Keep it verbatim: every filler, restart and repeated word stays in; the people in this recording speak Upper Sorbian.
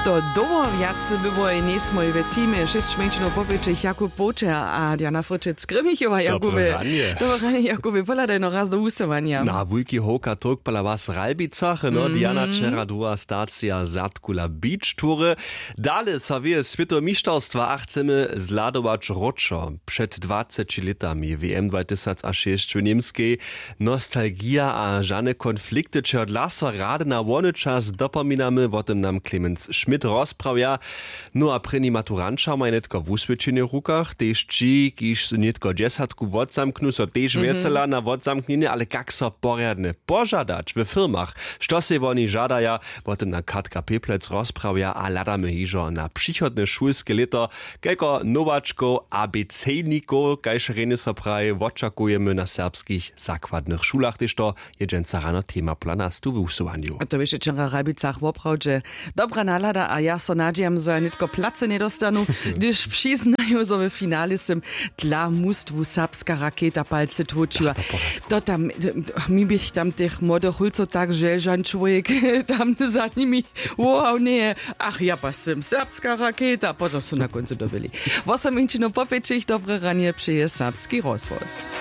Dołho wjace by woj njejsmoj w teamje šěsć mjeńšinow popjećich jakub połčer a diana fryčec grymichowa jakubje. Dobre ranje jakubje pohladajno raz do wusyłanja. Na wulki howka towk pola was w ralbicach no diana wčera druha stacija zadkula beach tury. Dale so wěje swětowe mištarstwa a chcemy zhladować wróćo. Před dwaceći lětami w m dwatysac a šěsć w němskej. Nostalgija a žane konflikty čehodla so rady na wony čas dopominamy wo tym nam clemens schmidt rozprawja. No a prěni maturanća maja nětko wuswědčenje w rukach tež ći kiž su nětko dźesatku wotzamknu so tež wjesela na wotzamknjenje ale kak so porjadnje požadać w firmach? Što sej woni žadaja? Wo tym na katka pěplec rozprawja a hladamy hižo na přichodne šulske lěto. Kelko nowačkow abecejnikow kaž rjenje so praji wočakujemy na serbskich zakładnych šulach tež to je dźensa rano tema pola nas tu w wusyłanju. A to běše wčera w hrabicach woprawdźe dobra nahlada a ja so nadźijam zo ja nětko placy njedostanu, hdyž přiznaju zo w finale sym dla mustwu serbska raketa palcy tłóčiła. To tam mi běch tam tych młodych hulcow tak želžan čłowjek tam za nimi wołał njeje. Ach ja pa sym serbska raketa potom su na kóncu dobyli. Wosominčinu popjećich dobre ranje přeje serbski rozhłos.